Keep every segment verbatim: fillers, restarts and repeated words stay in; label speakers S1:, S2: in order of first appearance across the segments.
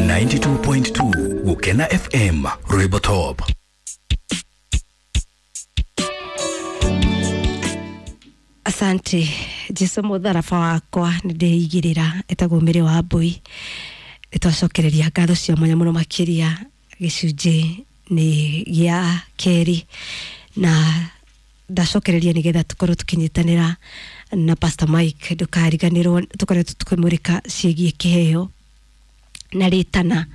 S1: ninety-two point two Gukena F M Rwimbo Top.
S2: Asante Jesu mutharaba wakwa nĩ ndĩigĩrĩra etagwo Mĩrĩ wa Mbui. Nĩtwacokereria ngatho cia mwanya mũno makĩria gĩcunjĩ nĩ gĩa kerĩ, na ndacokereria nĩgetha tũkorwo tũkĩnyitanĩra na Pastor Mike. Ndũkariganĩrwo tũkoretwo tũkĩmũrĩka ciĩgiĩ kĩheo na rĩtana,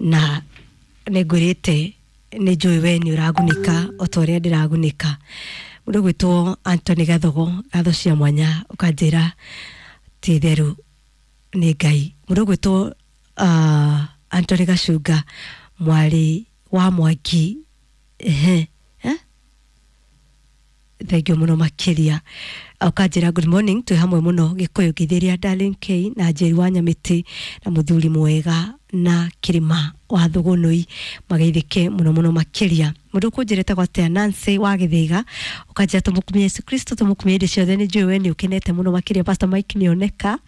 S2: na nĩngwĩrĩte nĩ njũĩ we nĩ ũragunĩka o ta ũrĩa ndĩragunĩka. Mũndũ gwĩtwo Anthony Gathogo, ngatho cia mwanya ũkanjĩra ti itherũ nĩ Ngai. Mũndũ gwĩtwo uh, Anthony Gacunga, mwarĩ wa Mwangi, ehe eh? Thank you mũno makĩria. Ũkanjĩra good morning, twĩ hamwe mũno Gĩkũyũ ngĩthĩria Darling K na Njeri wa Nyamĩtĩ na mũthuri mwega na Kĩrĩma wa Thũgũnũi, mageithĩke mũno mũno makĩria. Mũndũ ũkũnjĩra etagwo atĩa, Nancy wa Gĩthĩga, ũkanjĩra tũmũkumie Yesu Kristo, tũmũkumie hĩndĩ ciothe, nĩ njũĩ we nĩ ũkenete mũno makĩria. Pastor Mike nĩoneka,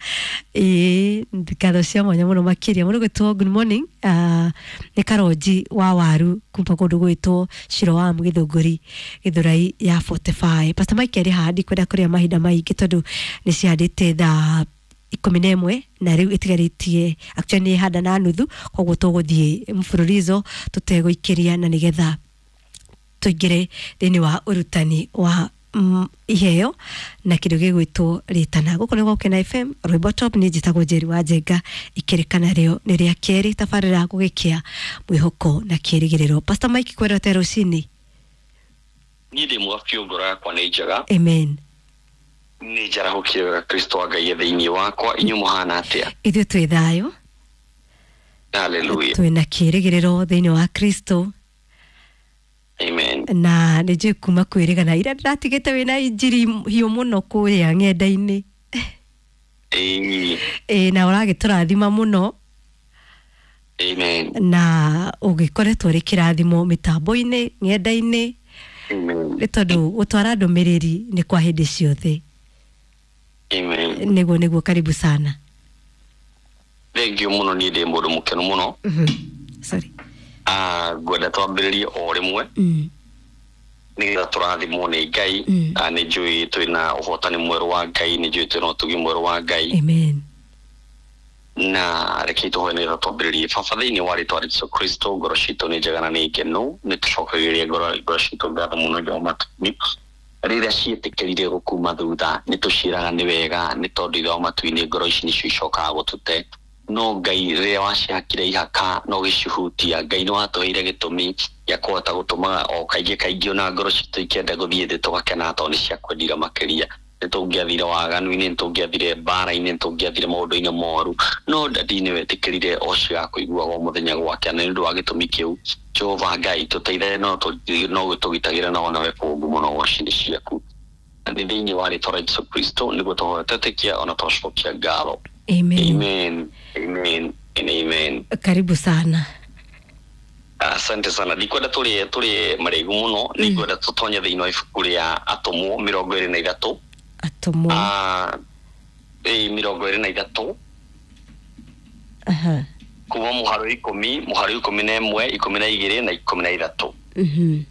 S2: ĩĩ ngatho cia mwanya mũno makĩria. Mũndũ gwĩtwo good morning, uh, nĩ Karonji wa Waru kuma kũndũ gwĩtwo Shiroam Gĩthũngũri Gĩthũrai ya forty-five. Pastor Mike arĩ haha, ndikwenda kũrĩa mahinda maingĩ tondũ nĩ cihandĩte thaa ikũmi na ĩmwe na rĩu ĩtigarĩtie actually nĩ handa na nuthu, koguo tũgũthiĩ mfululizo tũtegũikĩria na nĩgetha tũingĩre thĩinĩ wa ũrutani wa mm, iheo na kĩndũ gĩgwĩtwo rĩtana. Gũkũ nĩ Gũkena F M Rwimbo Top, nĩ njĩtagwo Njeri wa Njenga, ikĩrĩkana rĩo nĩ rĩa kerĩ tabarĩra gũgĩkĩa mwĩhoko na kĩrĩgĩrĩro. Pastor Mike, kwendete rũcinĩ?
S3: Niĩ ndĩ mwega biũ, ngoro yakwa nĩ njega.
S2: Amen.
S3: Nĩ njarahũkire wega, Kristo wa Ngai e thĩinĩ wakwa. Inyuĩ mũhana atĩa?
S2: Ithuĩ twĩ thayũ.
S3: Hallelujah.
S2: Twĩ na kĩrĩgĩrĩro thĩinĩ wa Kristo.
S3: Amen.
S2: Na nĩ njũĩ kuma kwĩrĩgana ira ndĩratigĩte wĩna injiri hiũ mũno kũrĩa ng'enda-inĩ.
S3: Ĩĩ.
S2: Ĩĩ, na ũragĩtũrathima mũno.
S3: Amen.
S2: Na ũgĩkoretwo ũrĩ kĩrathimo mĩtambo-inĩ ng'enda-inĩ.
S3: Amen.
S2: Nĩ tondũ gũtwara ndũmĩrĩri nĩ kwa hĩndĩ ciothe.
S3: Amen.
S2: Nĩguo nĩguo, karibu sana.
S3: Thank you mũno, niĩ ndĩ mũndũ mũkenu mũno.
S2: Mhm. Sorry.
S3: Ah, ngwenda twambĩrĩrie o rĩmwe
S2: Mm.
S3: nĩgetha tũrathimwo nĩ Ngai.
S2: Mm.
S3: Ah, nĩ njũĩ twĩna ũhotani mwerũ wa Ngai, nĩ njũĩ twĩna ũtugi mwerũ wa Ngai.
S2: Amen.
S3: Na reke tũhoe nĩgetha twambĩrĩrie. Baba, thĩinĩ wa rĩtwa rĩa Jesũ Kristo, ngoro citũ nĩ njega na nĩ ngenu, nĩ tũcokagĩria ngoro ngoro citũ ngatho mũno Ngai wa matu-inĩ. Rĩrĩa ciĩtĩkĩrire gũkuma thutha, nĩ tũciĩraga nĩ wega, nĩ tondũ Ithe wa matu-inĩ ngoro ici nĩcio icokaga gũtũte. No Ngai, rĩrĩa wacihakire ihaka na ũgĩcihutia, Ngai nĩ watũheire gĩtũmi gĩa kũhota gũtũmaga o kaingĩ kaingĩ ona ngoro citũ ikĩenda gũthiĩ thĩ tũgakena tondũ nĩ ciakwendire makĩria. Nĩ tũngĩathire waganu-inĩ, nĩ tũngĩathire mbara-inĩ, nĩ tũngĩathire maũndũ-inĩ moru, no ndadi nĩ wetĩkĩrire o cigakũiguaga o mũthenya gwakĩa. Na nĩ ũndũ wa gĩtũmi kĩu, Jehova Ngai, tũteithie no tũ- no tũgitagĩre na onawe kũngu mũno goci-inĩ ciaku. Na nĩ thĩinĩ wa rĩtwa rĩa Jesũ Kristo nĩguo tũhoya twetĩkia ona twacokia ngatho.
S2: Amen.
S3: Amen. Amen and amen.
S2: Karibu sana.
S3: Asante sana. Ndikwenda tũrĩe tũrĩe marĩgu mũno, nĩngwenda tũtonye thĩinĩ wa ibuku rĩa Atũmwo mĩrongo ĩrĩ na ithatũ.
S2: Atũmwo.
S3: Ah, ĩĩ, mĩrongo ĩrĩ na ithatũ.
S2: Aha.
S3: Kuma mũhari wa ikũmi, mũhari wa ikũmi na ĩmwe, ikũmi na igĩrĩ na ikũmi na ithatũ.
S2: Mhm.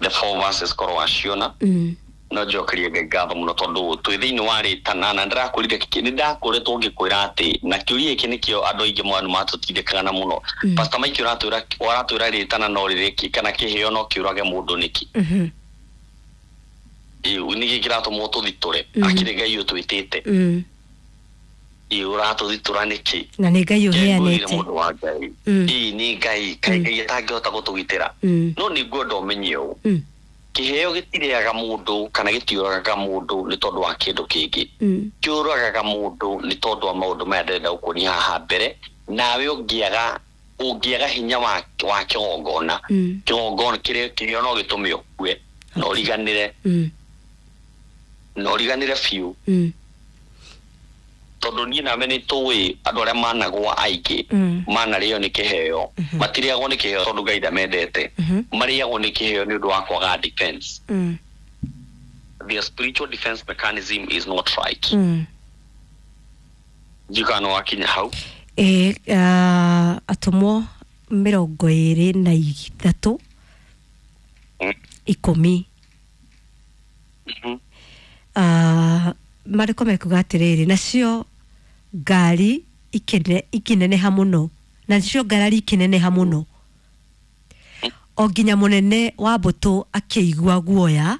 S3: The four verses korwo waciona.
S2: Mm.
S3: No njokerie Ngai ngatho mũno tondũ twĩ thĩinĩ wa rĩtana, na ndĩrakwĩrire nĩ ndakoretwo ngĩkwĩra atĩ na kĩũria gĩkĩ nĩkĩo andũ aingĩ mwanyu matũtindĩkaga na mũno.
S2: Mm.
S3: Pastor Mike, ũratwĩra ũratwĩra rĩtana no rĩrĩki kana kĩheo no kĩũrage mũndũ nĩkĩ?
S2: Mhm.
S3: Ĩĩ, nĩkĩ kĩratũma ũtũthitũre?
S2: Mm.
S3: Akĩrĩ Ngai ũtwĩtĩte.
S2: Mm.
S3: Ĩĩ, ũratũthitũra nĩkĩ?
S2: Na nĩ Ngai
S3: Ngwĩrire
S2: ũheanĩte.
S3: mũndũ wa Ngai.
S2: Mm.
S3: Ĩĩ, nĩ Ngai, kaĩ
S2: Mm.
S3: Ngai atangĩhota gũtũgitĩra?
S2: Mm.
S3: No nĩ ngwenda ũmenye ũũ.
S2: Mm.
S3: Kĩheo gĩtirĩaga mũndũ kana gĩtiũragaga mũndũ nĩ tondũ wa kĩndũ kĩngĩ.
S2: Mm.
S3: Kĩũragaga mũndũ nĩ tondũ wa maũndũ maya ndĩrenda gũkuonia haha mbere. Nawe ũngĩaga ũngĩaga hinya wa wa kĩgongona,
S2: Mm.
S3: kĩgongona kĩrĩa kĩheo no gĩtũme ũkue na ũriganĩre,
S2: Mm.
S3: na ũriganĩre biũ.
S2: Mm.
S3: Tondũ niĩ nawe nĩ tũĩ andũ arĩa managwa aingĩ
S2: Mm.
S3: manarĩo nĩ kĩheo, matirĩagwo nĩ kĩheo tondũ Ngai ndamendete,
S2: Mhm.
S3: marĩagwo nĩ kĩheo nĩ ũndũ wa kwaga defense.
S2: Mm.
S3: Their spiritual defense mechanism is not right.
S2: Mm.
S3: Njikana wakinya hau.
S2: E, uh, atũmwo mĩrongo ĩrĩ na ithatũ
S3: Mm.
S2: ikũmi.
S3: Mhm.
S2: uh, marĩko mekuga atĩrĩrĩ, nacio ngari ikĩne- ikĩneneha mũno, nacio ngarari ikĩneneha mũno o nginya mũnene wa mbũtũ akĩigua guoya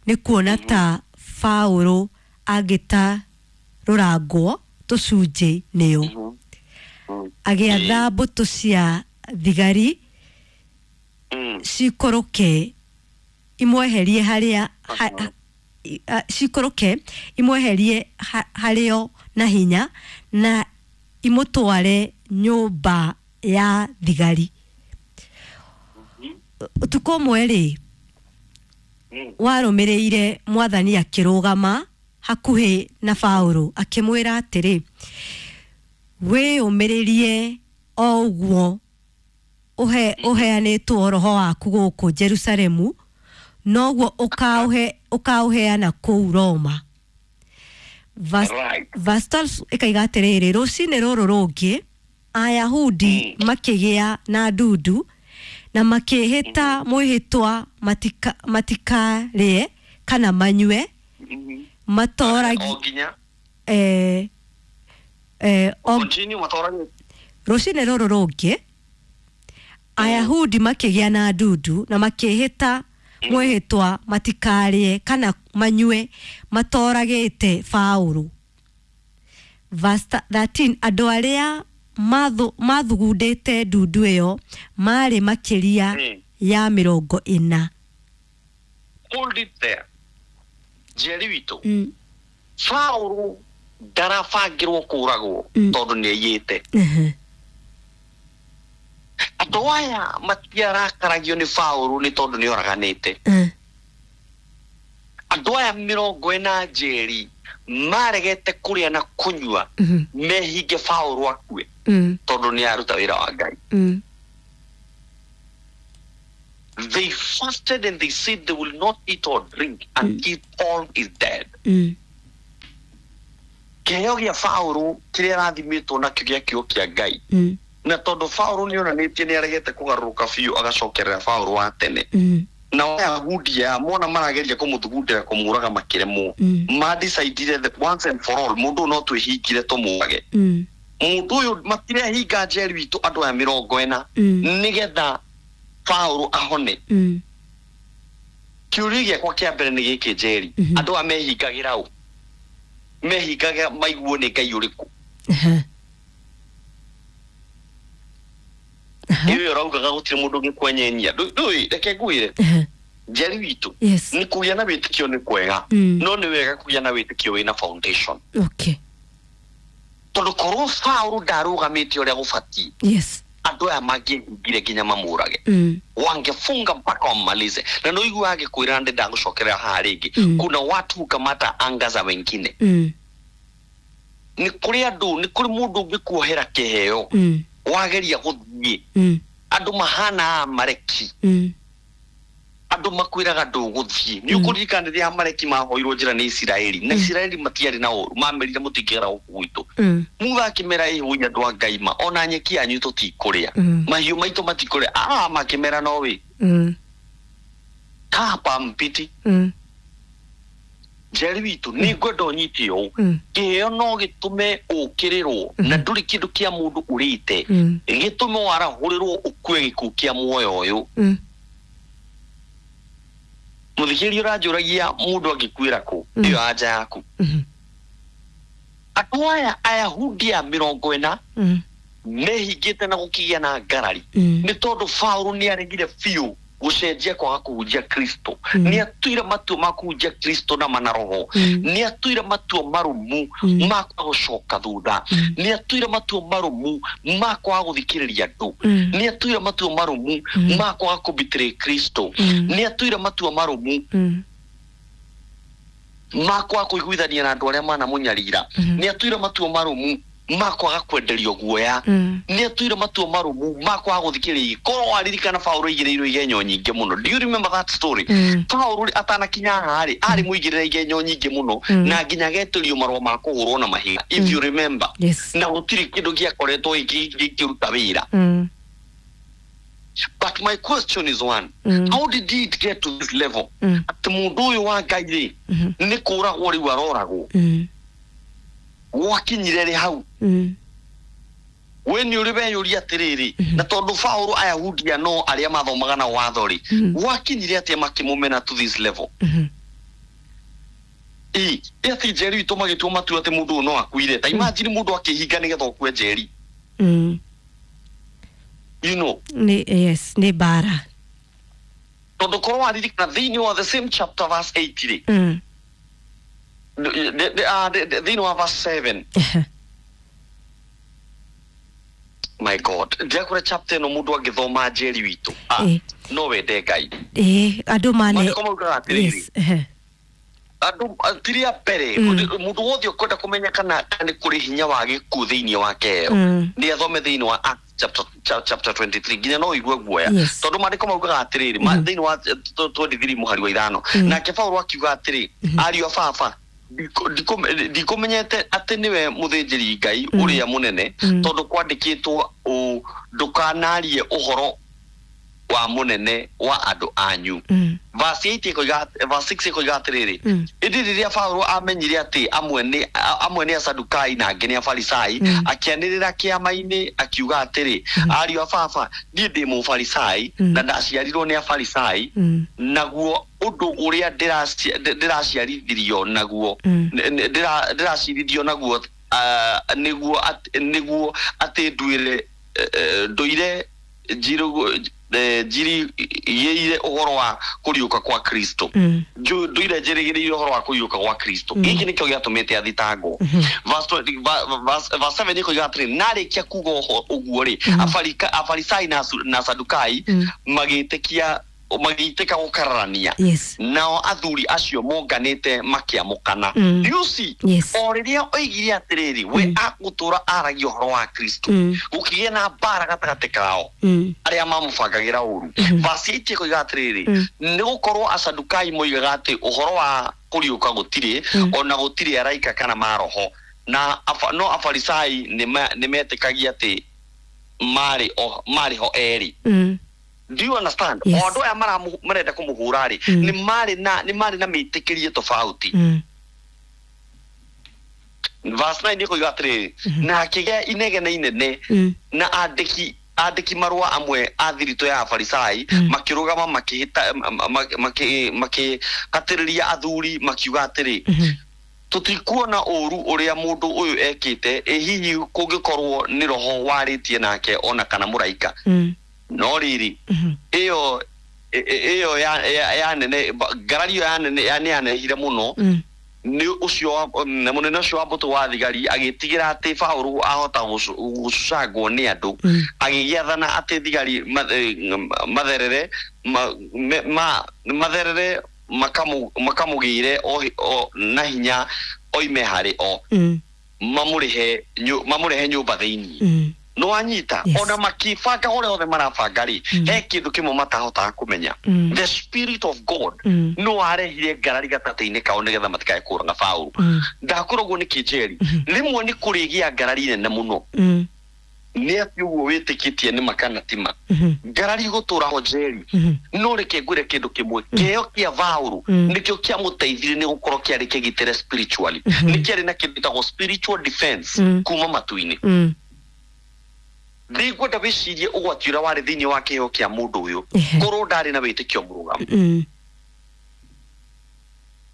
S2: nĩ kuona ta Paũlũ angĩtarũrangwo tũcunjĩ nĩo.
S3: Mhm. Mm.
S2: Agĩatha mbũtũ cia thigari
S3: Mm.
S2: cikũrũke imweherie harĩa ha, ha, i- a- cikũrũke imweherie ha, harĩo na hinya na imũtware nyũmba ya thigari. Ũtukũ ũmwe rĩ
S3: Mm.
S2: warũmĩrĩire, Mwathani akĩrũgama hakuhĩ na Paũlũ akĩmwĩra atĩrĩ, wĩyũmĩrĩrie o ũguo ũhe ũheanĩtwo roho waku gũkũ Jerusalemu noguo ũkaũhe ũkaũheana kũu Roma. Verse
S3: Right.
S2: verse twelve ĩkaiga atĩrĩrĩ, rũcinĩ rũrũ rũngĩ Ayahudi makĩgĩa na ndundu na makĩĩhĩta mwĩhĩtwa matika, matikarĩe kana manyue
S3: Mhm.
S2: matoragi
S3: O nginya
S2: eh, eh, o
S3: continue matoragi.
S2: Rũcinĩ rũrũ rũngĩ Ayahudi makĩgĩa na ndundu na makĩĩhĩta mwĩhĩtwa matikarĩe kana manyue matoragĩte Paũlũ. Verse thirteen, andũ arĩa mathu- mathugundĩte ndundu ĩyo marĩ makĩria
S3: Mm.
S2: ya mĩrongo ĩna.
S3: Hold it there, Njeri witũ.
S2: Mm.
S3: Paũlũ ndarabangĩrwo kũragwo
S2: Mm.
S3: tondũ nĩ aiyĩte.
S2: Mhm.
S3: Andũ aya matiarakaragio nĩ Paũlũ nĩ tondũ nĩ oraganĩte.
S2: Mm.
S3: Andũ aya mĩrongo ĩna, Njeri, maregete kũrĩa na kũnyua
S2: Mhm.
S3: mehinge Paũlũ akue
S2: Mm.
S3: tondũ nĩ aruta wĩra wa Ngai.
S2: Mm.
S3: They fasted and they said they will not eat or drink until Paul is dead.
S2: Mm.
S3: Kĩheo gĩa Paũlũ kĩrĩa arathimĩtwo nakĩo gĩa kiugo kĩa Ngai,
S2: Mm.
S3: na tondũ Paũlũ nĩ onanĩtie nĩ aregete kũgarũrũka biũ agacokerera Paũlũ wa tene,
S2: Mm.
S3: nao Ayahudi aya mona marageria kũmũthugundĩra kũmũraga makĩremwo,
S2: Mm.
S3: madecidire that once and for all mũndũ ũyũ no twĩhingire tũmũrage.
S2: Mm.
S3: Mũndũ ũyũ matirehinga, Njeri witũ, andũ aya mĩrongo ĩna
S2: Mm.
S3: nĩgetha Paũlũ ahone.
S2: Mm.
S3: Kĩũria gĩakwa kĩa mbere nĩ gĩkĩ, Njeri.
S2: Mhm.
S3: Andũ aya mehingagĩra ũ? Mehingaga maiguo nĩ Ngai ũrĩkũ?
S2: Aha. Aha.
S3: Ĩyo ũraugaga gũtirĩ mũndũ ũngĩkwenyenya. Ndũ- ndũĩ reke ngwĩre,
S2: Aha.
S3: Njeri witũ,
S2: Yes.
S3: nĩ kũgĩa na wĩtĩkio nĩ kwega,
S2: Mm.
S3: no nĩ wega kũgĩa na wĩtĩkio wĩna foundation,
S2: Okay.
S3: tondũ korwo Paũlũ ndarũgamĩte ũrĩa gũbatiĩ,
S2: Yes.
S3: andũ aya mangĩhingire nginya mamũrage,
S2: Mm.
S3: wangefunga mpaka wammalize. Na no igua agĩkwĩra ndĩ ndagũcokerera haha rĩngĩ.
S2: Mm.
S3: Kuna watu hukamata anga za wengine.
S2: Mm.
S3: Nĩ kũrĩ andũ, nĩ kũrĩ mũndũ ũngĩkuohera kĩheo
S2: Mm.
S3: wageria gũthiĩ.
S2: Mm.
S3: Andũ mahana Amaleki.
S2: Mm.
S3: Andũ makwĩraga ndũgũthiĩ. Nĩ ũkũririkana rĩrĩa Amaleki mahoirwo njĩra nĩ Isiraeli, na Isiraeli matiarĩ na ũru, mamerire mũtingĩgera gũkũ gwitũ.
S2: Mm.
S3: Musa akĩmera, ĩhũi andũ a Ngai, ma ona nyeki yanyu tũtikũrĩa,
S2: Mm.
S3: mahiũ maitũ matikũrĩa. Ah, makĩmera no wĩ
S2: Mm.
S3: kapa mpiti.
S2: Mm.
S3: Njeri witũ, nĩ ngwenda ũnyite ũũ.
S2: Mm.
S3: Kĩheo no gĩtũme ũkĩrĩrwo na ndũrĩ kĩndũ kĩa mũndũ ũrĩte,
S2: Mm.
S3: gĩtũme warahũrĩrwo ũkue gĩkuũ kĩa muoyo ũyũ.
S2: Mm.
S3: Mũthikĩrĩria ũranjũragia mũndũ angĩkuĩra kũ?
S2: Mm.
S3: Ĩyo anja yaku.
S2: Mhm.
S3: Andũ aya Ayahudi a mĩrongo ĩna
S2: Mm.
S3: mehingĩte na gũkĩgĩa na ngarari
S2: Mm.
S3: nĩ tondũ Paũlũ nĩ aregire biũ gũcenjia kwaga kũhunjia Kristo.
S2: Mm.
S3: Nĩ atuire matua ma kũhunjia Kristo na manaroho.
S2: Mm.
S3: Nĩ atuire matua marũmu
S2: Mm.
S3: ma kwaga gũcoka thutha.
S2: Mm.
S3: Nĩ atuire matua marũmu ma kwaga gũthikĩrĩria andũ.
S2: Mm.
S3: Nĩ atuire matua marũmu
S2: Mm.
S3: ma kwaga kũbitĩrĩ Kristo.
S2: Mm.
S3: Nĩ atuire matua marũmu
S2: Mm.
S3: ma kwaga kũiguithania na andũ arĩa manamũnyarira.
S2: Mhm.
S3: Nĩ atuire matua marũmu. ma kwaga kwenderio guoya
S2: Mm.
S3: nĩ atuire matua marũmu ma kwaga gũthikĩrĩria korwo waririkana Paũlũ aigĩrĩirwo igenyo nyingĩ mũno do you remember that story
S2: Mm.
S3: Paũlũ atanakinya haha rĩ arĩ mũigĩrĩre igenyo nyingĩ mũno
S2: Mm.
S3: na nginya agetĩrio marũa ma kũhũrwo na mahiga if you remember
S2: Yes.
S3: na gũtirĩ kĩndũ gĩakoretwo gĩkĩ- gĩkĩruta wĩra
S2: Mm.
S3: but my question is one
S2: Mm.
S3: how did it get to this level
S2: Mm.
S3: atĩ mũndũ ũyũ wa Ngai rĩ
S2: Mhm.
S3: nĩ kũragwo rĩu aroragwo
S2: Mm.
S3: gwakinyire rĩ hau
S2: Mm.
S3: we nĩ ũrĩ weyũria atĩrĩrĩ na tondũ Paũlũ Ayahudi no arĩa mathomaga na watho rĩ
S2: Mm.
S3: gwakinyire atĩa makĩmũmena to this level
S2: Mhm.
S3: ĩ ĩ atĩ njeri witũ magĩtua matua atĩ mũndũ ũyũ no akuire ta imagine mũndũ akĩhinga nĩgetha ũkue njeri
S2: Mm.
S3: you know
S2: Nĩ yes, nĩ mbara.
S3: tondũ korwo waririkana thĩinĩ wa the same chapter verse eight rĩ
S2: Mm.
S3: th- th- ah, th- th- thĩinĩ wa verse seven
S2: Ehe.
S3: my god ndiakũra chapter ĩno mũndũ angĩthoma njeri witũ ah,
S2: Ĩ.
S3: no wende Ngai
S2: Ĩ, andũ mane
S3: maandĩko maugaga atĩrĩrĩ
S2: Yes. Ehe.
S3: andũ tiria mbere
S2: Mm.
S3: mũndũ wothe ũkwenda kũmenya kana kana nĩ kũrĩ hinya wa gĩkuũ thĩinĩ wa keo
S2: Mm.
S3: nĩ athome thĩinĩ wa Acts chapter, cha- chapter twenty-three nginya no ũigue guoya
S2: Yes.
S3: tondũ maandĩko maugaga atĩrĩrĩ ma- thĩinĩ wa eh, twenty-three mũhari wa ithano
S2: Mm.
S3: nake Paũlũ akiuga atĩrĩ ariũ a baba ndikũ- ndikũ- ndikũmenyete atĩ nĩwe mũthĩnjĩri Ngai ũrĩa mũnene
S2: Mm.
S3: tondũ kwandĩkĩtwo ũũ ndũkanarie ũhoro wa mũnene wa andũ anyu
S2: Mm.
S3: verse eight ĩkoiga verse six ĩkoiga atĩrĩrĩ
S2: Mm.
S3: ĩndĩ rĩrĩa Paũlũ amenyire atĩ amwe nĩ a- amwe nĩ Asadukai na angĩ nĩ Afarisai
S2: Mm.
S3: akĩanĩrĩra kĩama-inĩ akiuga atĩrĩ ariũ a baba niĩ ndĩ mũfarisai
S2: Mm.
S3: na ndaciarirwo nĩ Afarisai
S2: Mm.
S3: naguo ũndũ ũrĩa ndĩraci- ndĩ- ndĩraciarithirio naguo
S2: Mm.
S3: nĩ- nĩ- ndĩra- ndĩracirithio naguo ah, nĩguo at- nĩguo atĩ nduĩre eh, eh, ndũire njirũ- eh, njirigĩire ũhoro wa kũriũka kwa Kristo
S2: Mm.
S3: Nju- nduire njĩrĩgĩrĩire ũhoro wa kũriũka gwa Kristo
S2: Mm.
S3: gĩkĩ nĩkĩo gĩatũmĩte athitangwo
S2: Mhm.
S3: Verse twenty- va- verse- verse seven ĩkoiga atĩrĩ narĩkia kuga ũho- ũguo rĩ
S2: Mm.
S3: Afarika- Afarisai na Asu- na Sadukai
S2: Mm.
S3: magĩtĩkia magĩitĩka gũkararania
S2: Yes.
S3: nao athuri acio monganĩte makĩamũkana
S2: Mm.
S3: you see
S2: Yes.
S3: o rĩrĩa oigire atĩrĩrĩ we
S2: Mm.
S3: agũtũra aragia ũhoro wa Kristo
S2: Mm.
S3: gũkĩgĩa na mbara gatagatĩ kao
S2: Mm.
S3: arĩa mamũbangagĩra ũru
S2: Mhm.
S3: verse eight ĩkoiga atĩrĩrĩ
S2: Mm.
S3: nĩ gũkorwo Asadukai moigaga atĩ ũhoro wa kũriũka gũtirĩ
S2: Mm.
S3: ona gũtirĩ araika kana maroho na afa, no Afarisai nĩ metĩkagia atĩ marĩ o marĩ ho erĩ
S2: Mm.
S3: do you understand
S2: Yes.
S3: o andũ aya maramu- marenda kũmũhũra rĩ
S2: Mm.
S3: nĩ marĩ na nĩ marĩ na mĩtĩkĩrie tofauti
S2: Mm.
S3: verse nine ĩkoiga atĩrĩrĩ
S2: Mhm.
S3: na akĩgĩa inegene inene
S2: Mm.
S3: na andĩki andĩki marũa amwe a thiritũ ya Afarisai
S2: Mm.
S3: makĩrũgama makĩhĩta ma- ma- makĩ- makĩhatĩrĩria athuri makiuga atĩrĩ
S2: Mhm.
S3: tũtikuona ũũru ũrĩa mũndũ ũyũ ekĩte ĩ hihi kũngĩkorwo nĩ roho warĩtie nake ona kana mũraika
S2: Mm.
S3: no rĩrĩ
S2: Mhm.
S3: ĩyo ĩ- ĩ- ĩyo ya, ya, ya nene ba- ngarari ĩyo ya nene ya nĩ yanehire mũno
S2: Mm.
S3: nĩ ũcio wa- mm, mũnene ũcio wa mbũtũ wa thigari agĩtigĩra atĩ Paũlũ ahota gũcu- gũcucangwo nĩ andũ
S2: Mm.
S3: agĩgĩathana atĩ thigari ma- eh, matherere ma- me- ma- matherere makamu- makamũgĩre o hi- o- na hinya oime harĩ o
S2: Mm.
S3: mamũrĩhe nyu- mamũrehe nyũmba thĩinĩ
S2: Mm.
S3: nĩwanyita
S2: Yes.
S3: ona makĩbanga ũrĩa othe marabanga rĩ
S2: Mm.
S3: he kĩndũ kĩmwe matahotaga kũmenya
S2: Mm.
S3: the spirit of God
S2: Mm.
S3: no arehire ngarari gatagatĩ-inĩ kao nĩgetha matikae kũraga Paũlũ
S2: Mm.
S3: ndakorwo ũguo nĩ kĩnjeri
S2: Mhm.
S3: rĩmwe nĩ kũrĩgĩa ngarari nene mũno
S2: Mm.
S3: nĩ atĩ ũguo wĩtĩkĩtie nĩ makana tima
S2: Mhm.
S3: ngarari gũtũra ho njeri
S2: Mhm.
S3: no reke ngwĩre kĩndũ kĩmwe kĩheo kĩa Paũlũ
S2: Mm.
S3: nĩkĩo kĩamũteithirie nĩ gũkorwo kĩarĩ kĩgitĩre spiritually
S2: Mhm.
S3: nĩ kĩarĩ na kĩndũ gĩtagwo spiritual defense
S2: Mm.
S3: kuma matu-inĩ
S2: Mm.
S3: ndingwenda wĩcirie ũgwati ũrĩa warĩ thĩinĩ wa kĩheo kĩa mũndũ ũyũ
S2: Ehe.
S3: korwo ndarĩ na wĩtĩkio mũrũgamu
S2: Mm.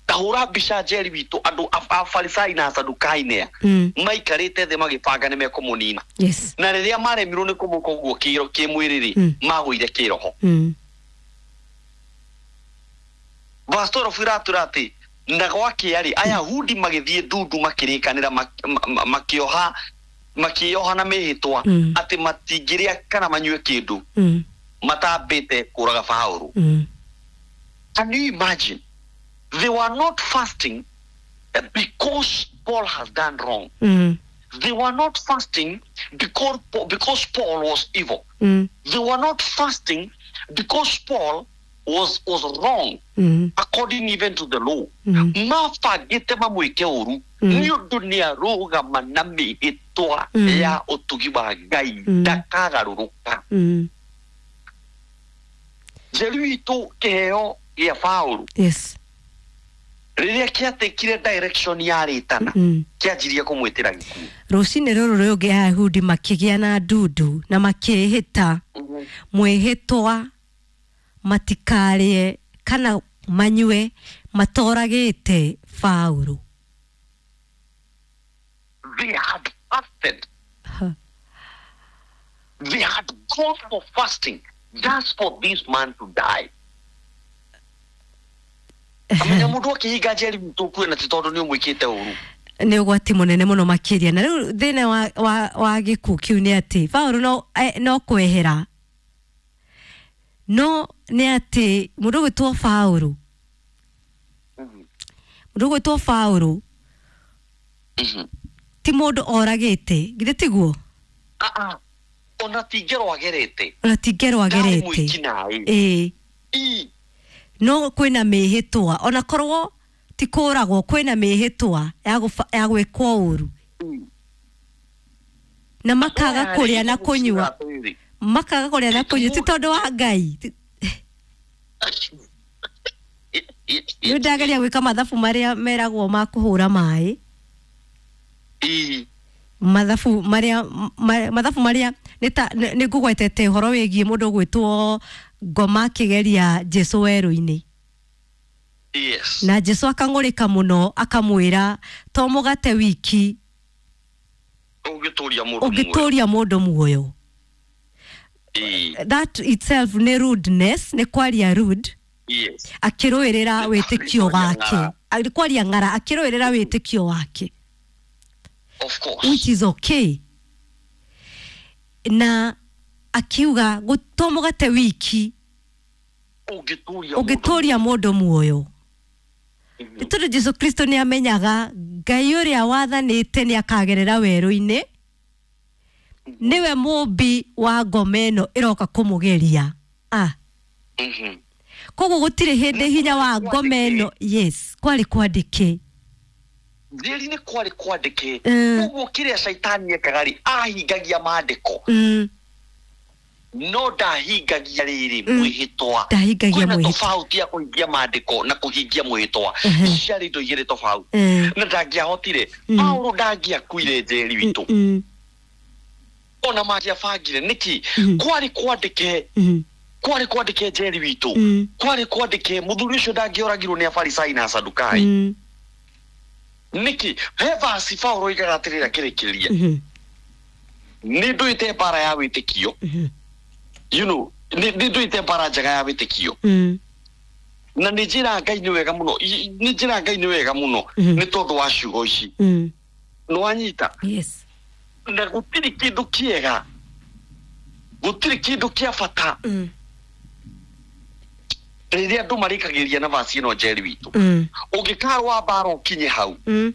S3: ta hũra mbica njeri witũ andũ a- afarisai na asadukai nĩa
S2: Mm.
S3: maikarĩte thĩ magĩbanga nĩ mekũmũnina
S2: Yes.
S3: na rĩrĩa maremirwo nĩ kũmũka ũguo kĩro- kĩmwĩrĩ rĩ
S2: Mm.
S3: magũire kĩroho
S2: Mm.
S3: verse twelve iratwĩra atĩ na gwakĩa rĩ ayahudi magĩthiĩ ndundu makĩrĩkanĩra mak- ma- ma- makĩoha makĩoha na mĩhĩtwa
S2: Mm.
S3: atĩ matingĩrĩa kana manyue kĩndũ
S2: Mm.
S3: matambĩte kũraga Paũlũ
S2: Mm.
S3: Can you imagine? They were not fasting eh, because Paul has done wrong.
S2: Mm.
S3: They were not fasting because, because Paul was evil.
S2: Mm.
S3: They were not fasting because Paul was, was wrong
S2: Mm.
S3: according even to the law.
S2: Mm.
S3: Mabangĩte mamwĩke ũru
S2: Mm.
S3: nĩ ũndũ nĩ arũgama na mĩhĩtwa
S2: Mm.
S3: ya ũtugi wa Ngai
S2: Mm.
S3: ndakagarũrũka.
S2: Mm.
S3: Njeri witũ kĩheo gĩa Paũlũ
S2: Yes.
S3: rĩrĩa kĩatĩkire direction ya rĩtana
S2: Mm.
S3: kĩanjirie kũmwĩtĩra gĩkuũ.
S2: Rũcinĩ rũrũ rũngĩ Ayahudi makĩgĩa na ndundu na makĩĩhĩta mwĩhĩtwa matikarĩe kana manyue matoragĩte Paũlũ.
S3: They had fasted.
S2: Huh.
S3: They had gone for fasting just for this man to die. Amenya mũndũ akĩhinga njeri witũ kue na ti tondũ nĩ ũmwĩkĩte ũru.
S2: Nĩ ũgwati mũnene mũno makĩria na rĩu thĩna wa, wa, wa gĩkuũ kĩu nĩ atĩ Paũlũ no, eh, no kwehera no nĩ atĩ mũndũ ũgwĩtwo Paũlũ mũndũ ũgwĩtwo Paũlũ
S3: Mhm.
S2: ti mũndũ oragĩte githĩ tiguo?
S3: Ah, ah. Ona ti ngero agerete.
S2: Ona ti ngero
S3: Ndarĩ
S2: agerete.
S3: mwĩki-naĩ.
S2: Ĩĩ.
S3: Ii.
S2: No kwĩna mĩhĩtwa ona korwo ti kũragwo kwĩna mĩhĩtwa ya gũba- ya gwĩkwo ũru na makaga kũrĩa na kũnyua makaga kũrĩa na kũnyua ti tondũ wa Ngai. Ti- Rĩu ndageria gwĩka mathabu marĩa meragwo ma kũhũra maĩ
S3: Ii.
S2: mathabu marĩa ma- mathabu marĩa nĩ ta nĩ nĩ ngũgwetete ũhoro wĩgiĩ mũndũ ũgwĩtwo ngoma akĩgeria Jesũ werũ-inĩ.
S3: Yes.
S2: Na Jesũ akang'ũrĩka mũno akamwĩra to mũgate wiki
S3: Ũngĩtũria mũndũ muoyo.
S2: ũngĩtũria mũndũ muoyo.
S3: Ii.
S2: That itself nĩ rudeness, nĩ kwaria rude.
S3: Yes.
S2: Akĩrũĩrĩra
S3: Nĩ
S2: wĩtĩkio
S3: kwaria
S2: wake.
S3: ng'ara.
S2: Nĩ kwaria ng'ara akĩrũĩrĩra wĩtĩkio wake.
S3: Of course.
S2: Which is okay. Na akiuga to mũgate wiki
S3: Ũngĩtũria
S2: ũngĩtũria mũndũ muoyo. Nĩ tondũ Jesũ Kristo nĩ amenyaga Ngai ũrĩa wathanĩte nĩ akagerera werũ-inĩ nĩwe mũmbi wa ngoma ĩno ĩroka kũmũgeria. Ah.
S3: Mhm.
S2: Koguo gũtirĩ hĩndĩ hinya wa ngoma ĩno yes kwarĩ kwandĩke.
S3: Njeri nĩ kwarĩ kwandĩke.
S2: Mm.
S3: Koguo kĩrĩa caitani ekaga rĩ ahingagia maandĩko
S2: Mm.
S3: no ndahingagia rĩrĩ
S2: Mm.
S3: mwĩhĩtwa.
S2: Ndahingagia
S3: Kwĩna
S2: mwĩhĩtwa.
S3: tofauti ya kũhingia maandĩko na kũhingia mwĩhĩtwa.
S2: Mhm.
S3: Ciarĩ indo igĩrĩ tofauti.
S2: Mm.
S3: Na ndangĩahotire.
S2: Mm.
S3: Paũlũ ndangĩakuire njeri witũ.
S2: Mm.
S3: Ona mangĩabangire nĩkĩ?
S2: Mm.
S3: Kwarĩ kwandĩke
S2: Mm.
S3: kwarĩ kwandĩke njeri witũ.
S2: Mm.
S3: Kwarĩ kwandĩke mũthuri ũcio ndangĩoragirwo nĩ Afarisai na Asadukai.
S2: Mm.
S3: Nĩkĩ? He verse Paũlũ oigaga atĩrĩrĩ akĩrĩkĩrĩria.
S2: Mhm.
S3: Nĩ ndũĩte mbara ya wĩtĩkio.
S2: Mhm.
S3: You know, nĩ nĩ ndũĩte mbara njega ya wĩtĩkio.
S2: Mm.
S3: Na nĩ njĩra Ngai nĩ wega mũno. I- Nĩ njĩra Ngai nĩ wega mũno
S2: Mhm.
S3: nĩ tondũ wa ciugo ici.
S2: Mm.
S3: Nĩ wanyita?
S2: Yes.
S3: Na gũtirĩ kĩndũ kĩega. Gũtirĩ kĩndũ kĩa bata
S2: Mm.
S3: rĩrĩa andũ marĩkagĩrĩria na vaci ĩno njeri witũ.
S2: Mm.
S3: Ũngĩkarũa mbara ũkinye hau.
S2: Mm.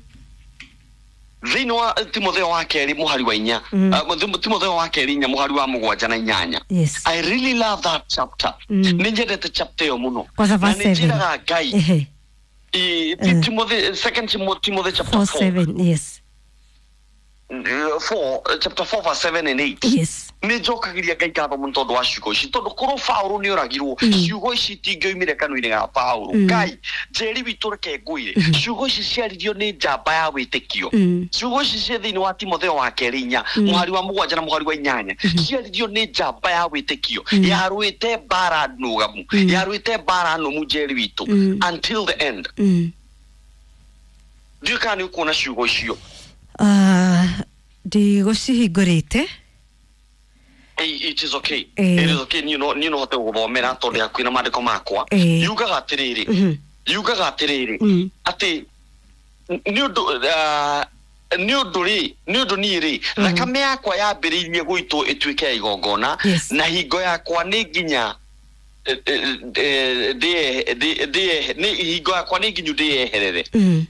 S3: Thĩinĩ wa Timotheo wa kerĩ mũhari wa inya.
S2: Mm.
S3: Uh, Timotheo wa kerĩ inya mũhari wa mũgwanja na inyanya.
S2: Yes.
S3: I really love that chapter.
S2: Mm.
S3: Nĩ nyendete chapter ĩyo mũno.
S2: Kwanza
S3: Na
S2: verse
S3: nĩ
S2: seven.
S3: njĩraga Ngai.
S2: Ehe.
S3: I-
S2: Mm.
S3: Timothy, second Timo- Timothy chapter
S2: Four
S3: four.
S2: seven. Yes.
S3: Uh, four, uh, chapter four verse seven and eight.
S2: Yes.
S3: Nĩ njokagĩria Ngai ngatho mũno tondũ wa ciugo ici tondũ korwo Paũlũ nĩ oragirwo
S2: Mm.
S3: ciugo ici itingĩoimire kanua-inĩ ga Paũlũ.
S2: Mm.
S3: Ngai njeri witũ reke ngwĩre ciugo ici ciaririo nĩ njamba ya wĩtĩkio.
S2: Mm.
S3: Ciugo ici ciĩ thĩinĩ wa Timotheo wa kerĩ inya
S2: Mm.
S3: mũhari wa mũgwanja na mũhari wa inyanya ciaririo nĩ njamba ya wĩtĩkio
S2: Mm.
S3: yarũĩte mbara nũgamu
S2: Mm.
S3: yarũĩte mbara nũmu njeri witũ
S2: Mm.
S3: until the end.
S2: Mm.
S3: Ndiũĩ kana nĩ ũkuona ciugo icio.
S2: Ah, ndigũcihingũrĩte.
S3: Hey, it is okay.
S2: Eh.
S3: It is okay. Niĩ no niĩ no hote gũgũthomera tondũ hakuhĩ na maandĩko makwa.
S2: Eh.
S3: Yugaga atĩrĩrĩ.
S2: Mhm.
S3: Yugaga atĩrĩrĩ
S2: Mm.
S3: atĩ nĩ ũndũ ah, nĩ ũndũ rĩ nĩ ũndũ niĩ rĩ
S2: Mm.
S3: thakame yakwa yambĩrĩirie gũitwo ĩtuĩke ya igongona
S2: Yes.
S3: na hingo yakwa nĩ nginya eh, eh, eh, ndĩe- ndĩ- ndĩe- nĩ hingo yakwa nĩ nginyu ndĩyeherere.
S2: Mm.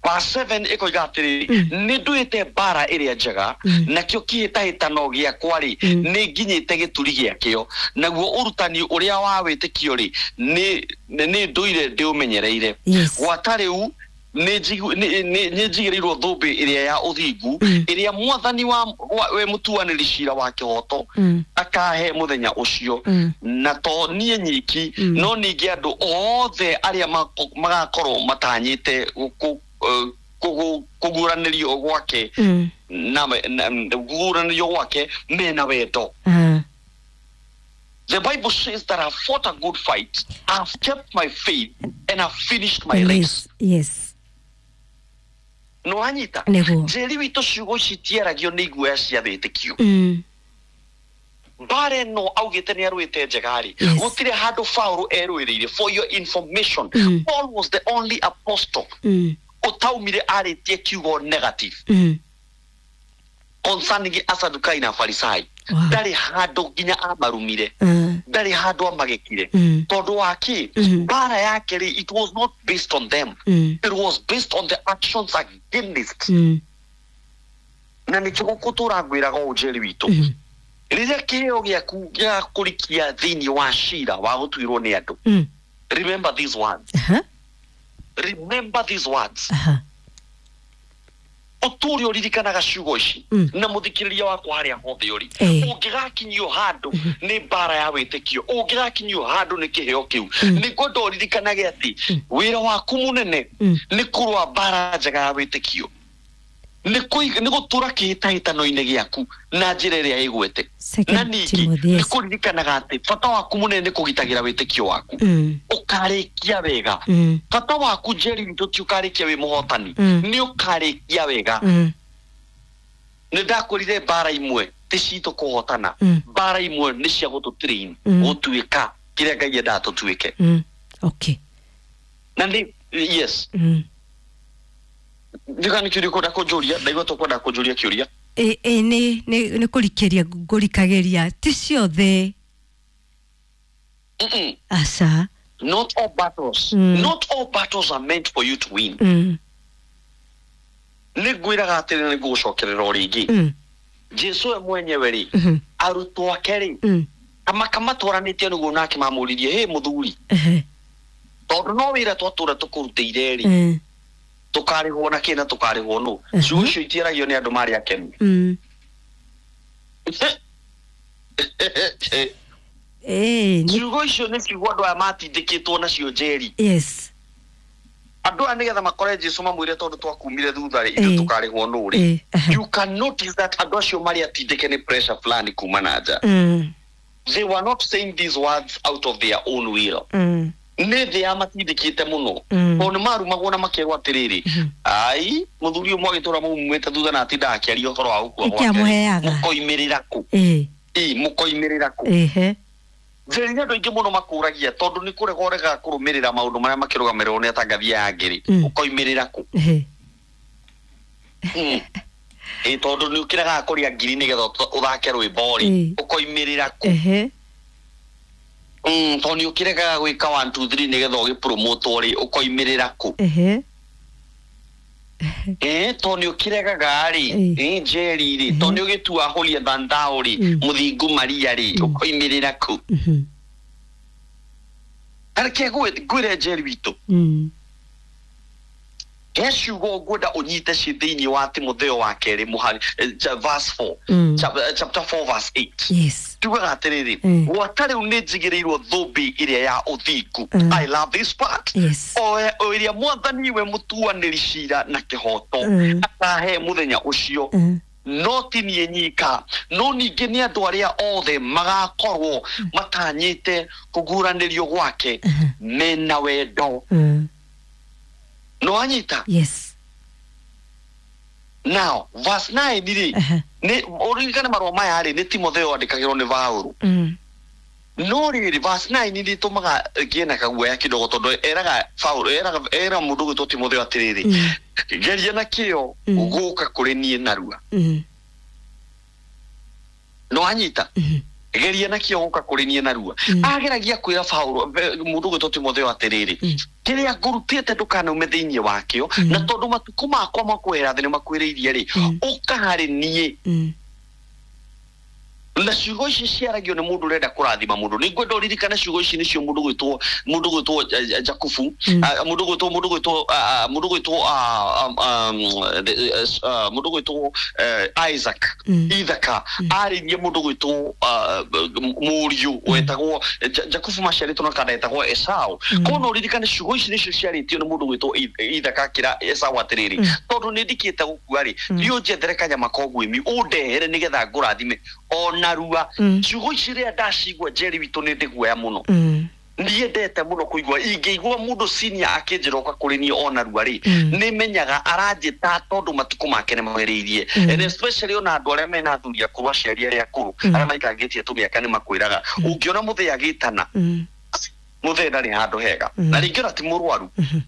S3: Verse seven ĩkoiga atĩrĩrĩ,
S2: Mm.
S3: nĩ nduĩte mbara ĩrĩa njega,
S2: Mm.
S3: nakĩo kĩhĩtahĩtano gĩakwa rĩ,
S2: Mm.
S3: nĩ nginyĩte gĩturi gĩakĩo, naguo ũrutani ũrĩa wa wĩtĩkio rĩ, nĩ nĩ ndũire ndĩũmenyereire.
S2: Yes.
S3: Gwata rĩu nĩ njigu- nĩ- nĩ- nĩ njigĩrĩirwo thũmbĩ ĩrĩa ya ũthingu,
S2: Mm.
S3: ĩrĩa mwathani wa, wa we mũtuanĩri cira wa kĩhoto
S2: Mm.
S3: akahe mũthenya ũcio,
S2: Mm.
S3: na to niĩ nyiki,
S2: Mm.
S3: no ningĩ andũ othe arĩa mako- magakorwo matanyĩte gũkũ- eh, kũgũ- kũguũranĩrio gwake
S2: Mm.
S3: na na- kũguũranĩrio gwake mena wendo.
S2: Ah.
S3: The Bible says that I've fought a good fight, I've kept my faith, and I've finished my race.
S2: Yes. Yes.
S3: Nĩwanyita?
S2: Nĩguo.
S3: Njĩri witũ, ciugo ici itiaragio nĩ iguoya cia wĩtĩkio.
S2: Mm.
S3: Mbara ĩno augĩte nĩ arũĩte njega rĩ,
S2: Yes.
S3: gũtirĩ handũ Paul erũĩrĩire. For your information,
S2: Mm.
S3: Paul was the only apostle
S2: Mm.
S3: ũtaumire arĩtie kiugo negative
S2: Mm.
S3: concerning Asadukai na Farisai.
S2: Wow.
S3: Ndarĩ handũ nginya amarumire,
S2: Ah.
S3: ndarĩ handũ amagĩkire.
S2: Mm.
S3: Tondũ wa kĩ?
S2: Mm.
S3: Mbara yake rĩ, it was not based on them,
S2: Mm.
S3: it was based on the actions against.
S2: Mm.
S3: Na nĩkĩo gũkũtũra ngwĩraga ũũ, Njeri witũ,
S2: Mm.
S3: rĩrĩa kĩheo gĩaku gĩgakũrikia thĩinĩ wa cira wa gũtuirwo nĩ andũ,
S2: Mm.
S3: remember these words.
S2: Aha.
S3: Remember these words.
S2: Aha.
S3: Ũtũre ũririkanaga ciugo ici.
S2: Mm.
S3: Na mũthikĩrĩria wakwa harĩa hothe ũrĩ,
S2: Eh.
S3: ũngĩgakinyio handũ nĩ mbara ya wĩtĩkio, ũngĩgakinyio handũ nĩ kĩheo kĩu,
S2: Mm.
S3: nĩ ngwenda ũririkanage atĩ wĩra waku mũnene
S2: Mm.
S3: nĩ kũrũa mbara njega ya wĩtĩkio, nĩ kũiga- nĩ gũtũra kĩhĩtahĩtano-inĩ gĩaku na njĩra ĩrĩa ĩgwete, na
S2: Second
S3: ningĩ
S2: Timothy.
S3: nĩ
S2: Yes.
S3: kũririkanaga atĩ bata waku mũnene nĩ kũgitagĩra wĩtĩkio waku,
S2: Mm.
S3: ũkarĩkia wega.
S2: Mm.
S3: Bata waku, Njeri witũ, ti ũkarĩkia wĩ mũhotani,
S2: Mm.
S3: nĩ ũkarĩkia wega.
S2: Mm.
S3: Nĩ ndakwĩrire mbara imwe ti citũ kũhotana,
S2: Mm.
S3: mbara imwe nĩ cia gũtũtrain
S2: Mm.
S3: gũtuĩka kĩrĩa Ngai endaga tũtuĩke.
S2: Mm. Okay.
S3: Na nĩ yes.
S2: Mm.
S3: Ndiga nĩ kĩũria ũkwenda kũnjũria, ndaigua tũkwenda kũnjũria kĩũria.
S2: Ĩ ĩ nĩ nĩ nĩ kũrikĩria ngũrikagĩria, ti ciothe.
S3: Mm-mm.
S2: Aca.
S3: Not all battles,
S2: Mm.
S3: not all battles are meant for you to win.
S2: Mm.
S3: Nĩ ngwĩraga atĩrĩ, nĩ ngũgũcokerera o rĩngĩ,
S2: Mm.
S3: Jesu we mwenyewe rĩ,
S2: Mhm.
S3: arutwo ake rĩ,
S2: Mm.
S3: kama kamatwaranĩtie nĩguo, nake mamũririe, "Hĩ mũthuri,
S2: Ehe.
S3: tondũ no wĩra twatũra tũkũrutĩire rĩ,
S2: Mm.
S3: tũkarĩhwo na kĩ na tũkarĩhwo nũ?"
S2: Mhm.
S3: Ciugo icio itiaragio nĩ andũ marĩ akenu.
S2: Mm. Ĩ nĩ
S3: Ciugo icio nĩ ciugo andũ aya matindĩkĩtwo nacio, Njeri.
S2: Yes.
S3: Andũ aya nĩgetha makore Jesu mamwĩre, "Tondũ twakumire thutha rĩ, ithuĩ
S2: Ĩ.
S3: tũkarĩhwo nũ rĩ?"
S2: Ĩ aha.
S3: You can notice that andũ acio marĩ atindĩke nĩ pressure fulani kuma na nja.
S2: Mm.
S3: They were not saying these words out of their own will.
S2: Mm.
S3: Nĩ thĩ yamatindĩkĩte mũno,
S2: Mm.
S3: tondũ nĩ marumagwo na makerwo atĩrĩrĩ, "Ai, mũthuri ũyũ mwagĩtũra mumumĩte thutha na atindaga akĩaria ũhoro wa gũkua
S2: Nĩkĩ amũheaga?
S3: mũkoimĩrĩra kũ?"
S2: Ĩ.
S3: Ĩ, mũkoimĩrĩra kũ?
S2: Ĩhe.
S3: Njeri, nĩ andũ aingĩ mũno makũragia, tondũ nĩ kũrega ũregaga kũrũmĩrĩra maũndũ marĩa makĩrũgamĩrĩrwo nĩ atangathia aya angĩ rĩ,
S2: Mm.
S3: ũkoimĩrĩra kũ?
S2: Ĩhe.
S3: Mm. Ĩ, tondũ nĩ ũkĩregaga kũrĩa ngiri nĩgetha ũt- ũthake rwĩmbo rĩ,
S2: Ĩ.
S3: ũkoimĩrĩra kũ?
S2: Ehe.
S3: Mm, tondũ nĩ ũkĩregaga gwĩka one two three nĩgetha ũgĩpromotwo rĩ, ũkoimĩrĩra kũ?
S2: Ehe.
S3: Ĩ, tondũ nĩ ũkĩregaga rĩ,
S2: Ĩ.
S3: ĩ Njeri rĩ, tondũ nĩ ũgĩtua holier than thou rĩ,
S2: Mm.
S3: mũthingu Maria rĩ,
S2: Mm.
S3: ũkoimĩrĩra kũ?
S2: Mhm.
S3: Na reke ngwĩ- ngwĩre, Njeri witũ,
S2: Mm.
S3: he ciugo ngwenda ũnyite ci thĩinĩ wa Timotheo wa kerĩ mũhari eh, cha- verse four,
S2: Mm.
S3: Chap- eh, chapter four verse eight.
S2: Yes.
S3: Tugaga atĩrĩrĩ,
S2: Mm.
S3: "Gwata rĩu nĩ njigĩrĩirwo thũmbĩ ĩrĩa ya ũthingu."
S2: Mm.
S3: I love this part.
S2: Yes.
S3: o o ĩrĩa mwathani we mũtuanĩri cira na kĩhoto
S2: Mm.
S3: akahe mũthenya ũcio,
S2: Mm.
S3: no ti niĩ nyika, no ningĩ nĩ andũ arĩa othe magakorwo matanyĩte kũguũranĩrio gwake
S2: Mhm.
S3: mena wendo.
S2: Mm.
S3: No anyita?
S2: Yes.
S3: Now verse nine rĩ,
S2: Aha.
S3: nĩ ũririkane marũa maya rĩ, nĩ Timotheo andĩkagĩrwo nĩ Paũlũ.
S2: Mm.
S3: No rĩrĩ, verse nine nĩ ĩtũmaga ngĩe na kaguoya kidogo, tondũ eraga Paũlũ, eraga era mũndũ ũgwĩtwo Timotheo atĩrĩrĩ,
S2: Mm.
S3: "Geria na kĩo
S2: Mm.
S3: gũka kũrĩ niĩ narua."
S2: Mm.
S3: No anyita?
S2: Mhm.
S3: Geria nakĩo gũka kũrĩ niĩ narua.
S2: Mm.
S3: Ageragia kwĩra Paulo mũndũ gwĩtwo Timotheo atĩrĩrĩ,
S2: Mm.
S3: kĩrĩa ngũrutĩte ndũkanaume thĩinĩ wakĩo,
S2: Mm.
S3: na tondũ matukũ makwa ma kwehera thĩ nĩmakuhĩrĩirie rĩ,
S2: Mm.
S3: ũka harĩ niĩ.
S2: Mm.
S3: Na ciugo ici ciaragio nĩ mũndũ ũrenda kũrathima mũndũ. Nĩ ngwenda ũririkane ciugo ici nĩcio mũndũ gwĩtwo mũndũ gwĩtwo eh, eh, Jakubu,
S2: Mm.
S3: ah, mũndũ gwĩtwo mũndũ gwĩtwo ah, ah, mũndũ gwĩtwo ah, um, um, eh, ah, mũndũ gwĩtwo eh, Isaac,
S2: Mm.
S3: Ithaka arĩrie mũndũ gwĩtwo ah, mũriũ wetagwo Ja- Jakubu, maciarĩtwo na kanda etagwo Esau.
S2: Mm.
S3: Koguo no ũririkane ciugo ici nĩcio ciarĩtio nĩ mũndũ gwĩtwo I- Ithaka akĩra Esau atĩrĩrĩ,
S2: Mm.
S3: tondũ nĩ ndikĩte gũkua rĩ,
S2: Mm.
S3: thiĩ ũnjethere kanyama ka ũguĩmi ũndehere nĩgetha ngũrathime ona rua.
S2: Mm.
S3: Ciugo ici rĩrĩa ndacigua, Njeri witũ, nĩ ndĩguoya mũno.
S2: Mm.
S3: Ndiendete mũno kũigua. Ingĩigua mũndũ senior akĩnjĩra ũka kũrĩ niĩ ona rua rĩ,
S2: Mm.
S3: nĩ menyaga aranjĩta tondũ matukũ make nĩ magereirie.
S2: Mm.
S3: And especially ona andũ arĩa mena athuri akũrũ, aciari arĩa akũrũ,
S2: Mm.
S3: arĩa maikangĩtie tũmĩaka, nĩ makwĩraga ũngĩona mũthee agĩtana,
S2: Mm.
S3: mũthee ndarĩ handũ hega.
S2: Mm.
S3: Na rĩngĩ ona ti mũrwaru,
S2: Mhm.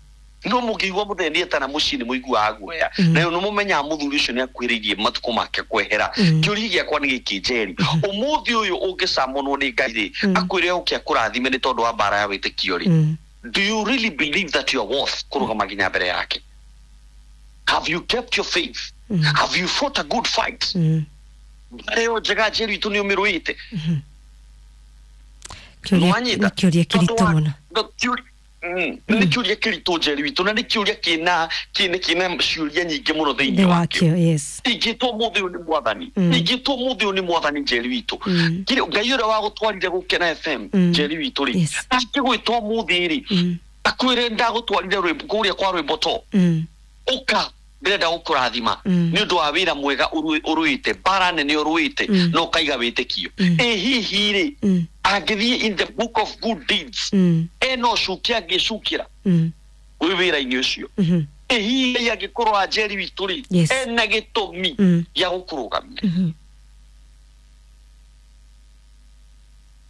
S3: no mũngĩigua mũthee nĩetana mũciĩ nĩ mũiguaga guoya.
S2: Mm.
S3: Na nĩ mũmenyaga mũthuri ũcio nĩ akuhĩrĩirie matukũ make kwehera.
S2: Mm.
S3: Kĩũria gĩakwa nĩ gĩkĩ, Njeri: ũmũthĩ ũyũ ũngĩcamonwo nĩ Ngai rĩ,
S2: Mm.
S3: akwĩre ũke akũrathime nĩ tondũ wa mbara ya wĩtĩkio rĩ,
S2: Mm.
S3: do you really believe that you are worth kũrũgama nginya mbere yake? Have you kept your faith?
S2: Mm.
S3: Have you fought a good fight?
S2: Mm.
S3: Mbara ĩyo njega, Njeri witũ, nĩ ũmĩrũĩte?
S2: Mhm. Kĩũria
S3: Nĩwanyita?
S2: nĩ kĩũria kĩritũ
S3: Tondũ wa-
S2: mũno.
S3: no, kĩũria- Mm, nĩ kĩũria kĩritũ, Njeri witũ, na nĩ kĩũria kĩna kĩna kĩna ciũria nyingĩ mũno
S2: Thĩ
S3: thĩinĩ wakĩo.
S2: wakĩo, yes.
S3: Ingĩtwo mũthĩ ũyũ nĩ mwathani,
S2: Mm.
S3: ingĩtwo mũthĩ ũyũ nĩ mwathani, Njeri witũ,
S2: Mm.
S3: Kĩrĩ- Ngai ũrĩa wagũtwarire Gũkena F M,
S2: Mm.
S3: Njeri witũ rĩ,
S2: Yes.
S3: angĩgwĩtwo mũthĩ rĩ,
S2: Mm.
S3: akwĩre ndagũtwarire rwĩmbo kũrĩa kwa rwĩmbo to
S2: Mm.
S3: ũka ndĩrenda gũkũrathima
S2: Mm.
S3: nĩ ũndũ wa wĩra mwega ũrũ- ũrũĩte, mbara nene ũrũĩte,
S2: Mm.
S3: na ũkaiga wĩtĩkio.
S2: Mm.
S3: Ĩ hihi rĩ,
S2: Mm.
S3: angĩthiĩ in the book of good deeds,
S2: Mm.
S3: ena ũcuki angĩcukĩra
S2: Mm.
S3: wĩ wĩra-inĩ ũcio?
S2: Mhm.
S3: Ĩ hihi Ngai angĩkorwo Anjeri witũ rĩ,
S2: Yes.
S3: ena gĩtũmi
S2: Mm.
S3: gĩa gũkũrũgamia?
S2: Mhm.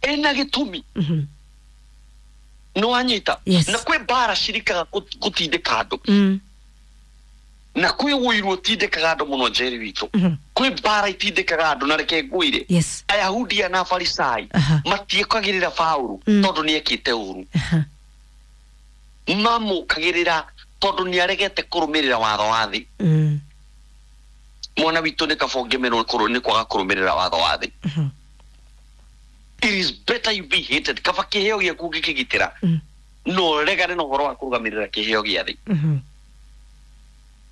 S3: Ena gĩtũmi?
S2: Mhm.
S3: Nĩ wanyita?
S2: Yes.
S3: Na kwĩ mbara cirikaga gũ- gũtindĩka andũ,
S2: Mm.
S3: na kwĩ ũiru ũtindĩkaga andũ mũno, Njeri witũ.
S2: Mhm.
S3: Kwĩ mbara itindĩkaga andũ, na reke ngwĩre,
S2: Yes.
S3: Ayahudi na Afarisai
S2: Aha.
S3: matiĩkagĩrĩra Paũlũ
S2: Mm.
S3: tondũ nĩ ekĩte ũru.
S2: Aha.
S3: Mamũkagĩrĩra tondũ nĩ aregete kũrũmĩrĩra watho wa thĩ.
S2: Mm.
S3: Mwana witũ, nĩ kaba ũngĩmenwo kũrũ- nĩ kwaga kũrũmĩrĩra watho wa thĩ.
S2: Mhm.
S3: It is better you be hated. Kaba kĩheo gĩaku ũngĩkĩgitĩra,
S2: Mm.
S3: no ũregane na ũhoro wa kũrũgamĩrĩra kĩheo gĩa thĩ.
S2: Mhm.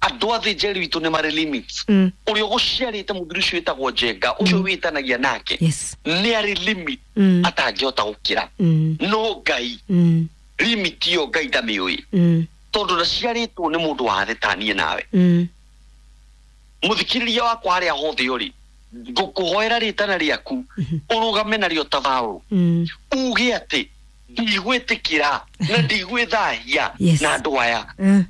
S3: Andũ a thĩ, Njeri witũ, nĩ marĩ limits.
S2: Mm.
S3: Ũrĩa ũgũciarĩte, mũthuri ũcio wĩtagwo Njenga, ũcio
S2: Mm.
S3: wĩtanagia nake,
S2: Yes.
S3: nĩ arĩ limit
S2: Mm.
S3: atangĩhota gũkĩra.
S2: Mm.
S3: No Ngai,
S2: Mm.
S3: limit ĩyo Ngai ndamĩũĩ,
S2: Mm.
S3: tondũ ndaciarĩtwo nĩ mũndũ wa thĩ ta niĩ nawe.
S2: Mm.
S3: Mũthikĩrĩria wakwa, harĩa hothe ũrĩ, ngũkũhoera rĩtana rĩaku
S2: Mhm.
S3: ũrũgame narĩo ta Paũlũ,
S2: Mm.
S3: uge atĩ ndigwĩtĩkĩra na ndigwĩthahia
S2: Yes.
S3: na andũ aya.
S2: Mm.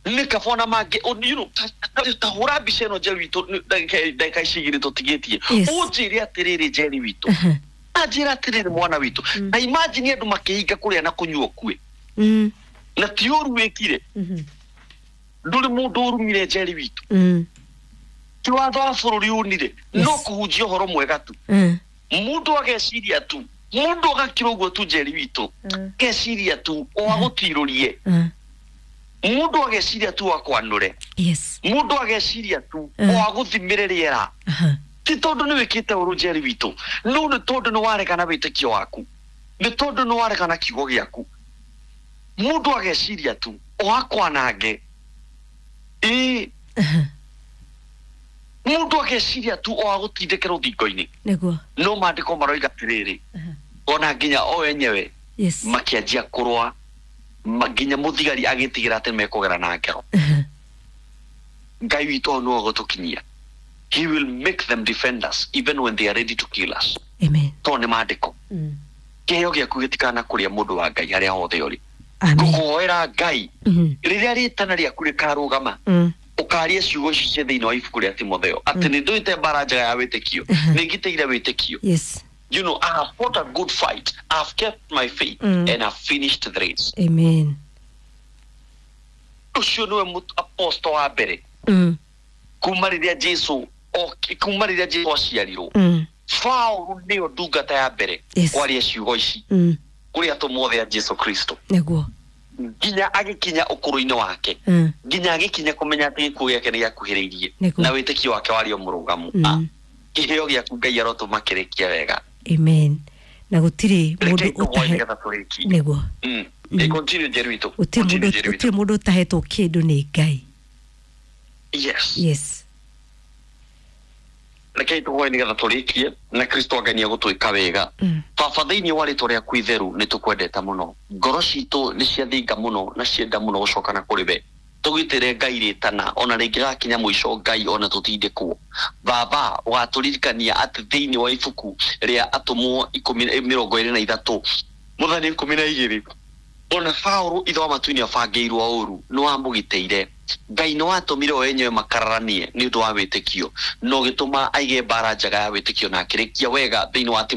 S3: Nĩ kaba ona mangĩ o- you know, ta- ta- ta hũra mbica ĩno, Njeri witũ, nĩ- ndagĩka ndagĩka ici igĩrĩ tũtigĩtie.
S2: Yes.
S3: Ũnjĩre atĩrĩrĩ, Njeri witũ,
S2: Aha.
S3: anjĩra atĩrĩrĩ, mwana witũ,
S2: Mm.
S3: na imagine andũ makĩhinga kũrĩa na kũnyua ũkue,
S2: Mm.
S3: na ti ũru wĩkire.
S2: Mhm.
S3: Ndũrĩ mũndũ ũrumire, Njeri witũ.
S2: Mm.
S3: Ti watho wa bũrũri unire,
S2: Yes.
S3: no kũhunjia ũhoro mwega tu.
S2: Mm.
S3: Mũndũ ageciria tu, mũndũ agakira ũguo tu, Njeri witũ,
S2: Mm.
S3: ageciria tu o agũtirũrie.
S2: Mm.
S3: Mũndũ ageciria tu akwanũre.
S2: Yes.
S3: Mũndũ ageciria tu
S2: Mm.
S3: o agũthimĩre rĩera.
S2: Aha.
S3: Ti tondũ nĩ wĩkĩte ũru, Njeri witũ, no nĩ tondũ nĩ waregana wĩtĩkio waku, nĩ tondũ nĩ waregana kiugo gĩaku. Mũndũ ageciria tu o akwanange, ĩĩ.
S2: Aha.
S3: Mũndũ ageciria tu o agũtindĩke rũthingo-inĩ.
S2: Nĩguo.
S3: No maandĩko maroiga atĩrĩrĩ,
S2: Aha.
S3: ona nginya o enyewe
S2: Yes.
S3: makĩanjia kũrũa, ma- nginya mũthigari agĩtigĩra atĩ mekũgera na ngero.
S2: Aha.
S3: Ngai witũ hau nĩwe ũgũtũkinyia. He will make them defend us even when they are ready to kill us.
S2: Amen.
S3: Tondũ nĩ maandĩko.
S2: Mm.
S3: Kĩheo gĩaku gĩtikana kũrĩa mũndũ wa Ngai harĩa hothe ũrĩ.
S2: Amen.
S3: Ngũkũhoera Ngai,
S2: Mhm.
S3: rĩrĩa rĩtana rĩaku rĩkarũgama,
S2: Mm.
S3: ũkarie ciugo ici cia thĩinĩ wa ibuku rĩa Timotheo atĩ nĩ ndũĩte mbara njega ya wĩtĩkio,
S2: Mhm.
S3: nĩ ngitĩire wĩtĩkio.
S2: Yes.
S3: you know I have fought a good fight, I have kept my faith,
S2: Mm.
S3: and I've finished the race.
S2: Amen.
S3: Ũcio nĩwe mũt- apostle wa mbere
S2: Mm.
S3: kuma rĩrĩa Jesu oki- kuma rĩrĩa Jesu aciarirwo.
S2: Mm.
S3: Paũlũ nĩyo ndungata ya mbere
S2: Yes.
S3: kwaria ciugo ici
S2: Mm.
S3: kũrĩ atũmwo othe a Jesu Kristo
S2: Nĩguo.
S3: nginya agĩkinya ũkũrũ-inĩ wake
S2: Mm.
S3: nginya agĩkinya kũmenya atĩ gĩkuũ gĩake nĩ gĩakuhĩrĩirie
S2: Nĩguo.
S3: na wĩtĩkio wake warĩ o mũrũgamu.
S2: Mm.
S3: Ah, kĩheo gĩaku Ngai arotũma kĩrĩkie wega.
S2: Amen. Na gũtirĩ mũndũ
S3: Rekei tũhoe
S2: ũtahe
S3: nĩgetha tũrĩkie.
S2: Nĩguo.
S3: Mm.
S2: Mm.
S3: Eh, continue Njeri witũ.
S2: Gũtirĩ
S3: Continue,
S2: mũndũ
S3: Njeri witũ.
S2: gũtirĩ mũndũ ũtahetwo kĩndũ nĩ Ngai.
S3: Yes.
S2: Yes.
S3: Rekei tũhoe nĩgetha tũrĩkie na Kristo Ngai nĩegũtwĩka wega.
S2: Mm.
S3: Baba, thĩinĩ wa rĩtwa rĩaku itheru nĩ tũkwendete mũno, ngoro citũ nĩ ciathinga mũno na cienda mũno gũcoka na kũrĩ we. Tũgitĩre Ngai rĩtana ona rĩngĩ gakinya mũico Ngai ona tũtindĩkwo. Baba, ũgatũririkania atĩ thĩinĩ wa ibuku rĩa atũmwo ikũmi mĩrongo ĩrĩ na ithatũ mũthani ikũmi na igĩrĩ ona Paũlũ ithe wa matu-inĩ abangĩirwo ũru nĩ wamũgitĩire. Ngai nĩ watũmire o enyewe makararanie nĩ ũndũ wa wĩtĩkio na ũgĩtũma aige mbara njega ya wĩtĩkio na akĩrĩkia wega thĩinĩ wa